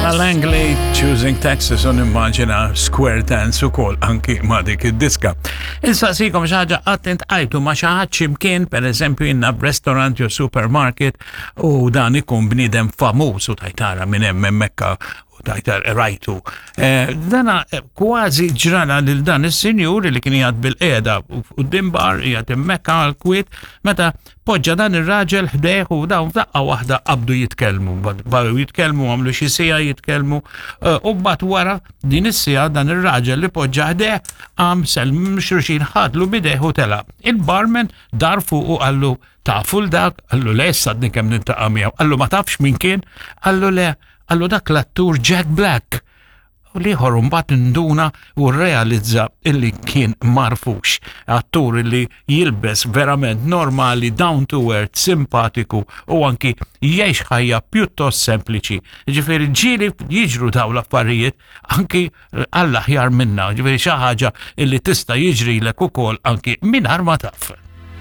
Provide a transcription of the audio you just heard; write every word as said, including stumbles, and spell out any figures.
Ella Langley, Choosing Texas, u nimmaġina Square Dance u kol anki ma dik id-diska. Insaqsikom xi ħaġa, qatt iltqajtu ma' xi ħadd x'imkien, per eżempju inna restaurant jew supermarket, u dan ikun bniedem famuż u tajtara minn hemm hemmhekk u tajtar rajtu? Eh, dana eh, kważi ġrala lil dan is-sinjur li kien jgħad bil-qeda u bar jgħad hemmhekk għal-kwiet meta poġġa dan ir-raġel ħdejh u dawn f'daqqa waħda qabdu jitkellmu, baqgħu jitkellmu, għamlu xi siegħa jitkellmu eh, u mbagħad wara din is-siegħa dan ir-raġel li poġġa ħdejh qam, sellmu xulxin, ħadlu b'idejh u telaq. Il-barman dar fuq u qallu, "Tafu 'l dak?" Qallu, "Le, issa għadni kemm niltaqa' miegħu." Qallu, "Ma tafx min kien?" Qallu, "Le." Qallu, "Dak l-attur Jack Black." U l-ieħor mbagħad induna u realizza illi kien m'għarfux. Attur illi jilbes verament normali, down to earth, simpatiku u anki jgħix ħajja pjuttost sempliċi. Ġifieri ġieli jiġru daw l-affarijiet anki għall-aħjar minna, ġifieri xi ħaġa illi tista' jiġrilek ukoll anki mingħajr ma taf.